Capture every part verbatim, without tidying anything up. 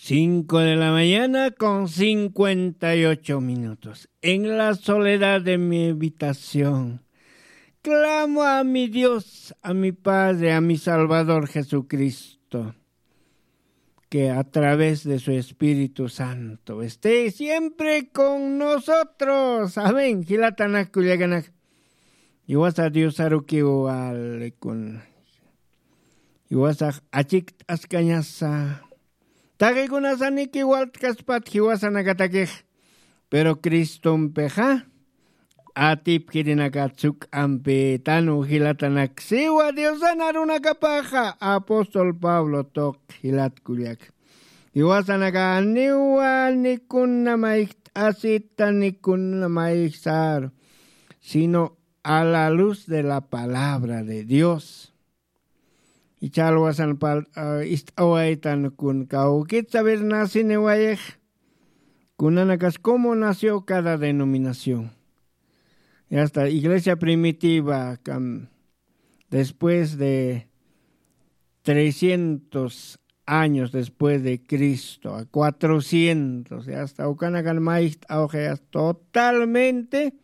Cinco de la mañana con cincuenta y ocho minutos. En la soledad de mi habitación, clamo a mi Dios, a mi Padre, a mi Salvador Jesucristo, que a través de su Espíritu Santo esté siempre con nosotros. Amén. Jilatanak kullakanak. Iwasa Diosarukiw walikun. Iwasax achikt'askañasa. Taqikunasaniki walt'kaspat jiwasanakatakix. Pero Cristompixa atipkirinaka tsuk'ampi tanu jilatanak siwa Diosan arunakapaxa apóstol Pablo tuq jilat kullak. Jiwasanaka niwa nikuna mayjt'asita nikuna mayjsaru, sino a la luz de la palabra de Dios. Ichha alwasan pal ist'awaytan kun kawkit saber nasiniwayix. Kunanakas cómo nació cada denominación. Y hasta iglesia primitiva, después de trescientos años después de Cristo, a cuatrocientos, y hasta ukanakan mayjt'awxi totalmente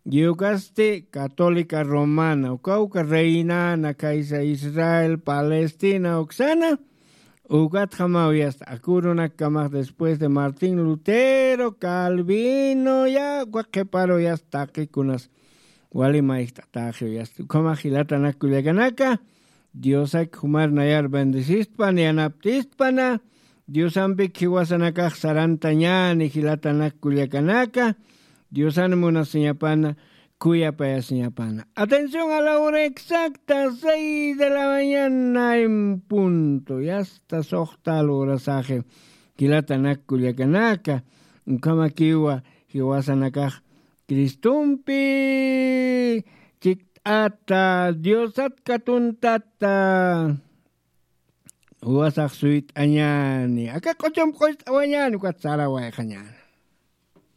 yukasti católica romana, uka uka reinana kaysa Israel, Palestina uksana. Ukatjamaw yasta akurunakamax después de Martín Lutero, Calvino, ya uka qhiparu yasta taqikunas wali mayjt'ataxiw yasta. Ukhamax jilatanak kullakanaka, Diosak jumar nayar bendecistpan yanaptistpana. Diosampik jiwasanakax sarantañani jilatanak kullakanaka. Diosan munasiñapana, kuyapayasiñapana. Atención, a la hora exacta, seis de la mañana en punto. Yasta soxtal horasaxi jilatanak kullakanaka. Ukhamakiwa jiwasanakax Cristompi chikt'ata, Diosat katuntata. Uwasax suyt'añani aka q'uchump q'ucht'awañani ukat sarawayxañani.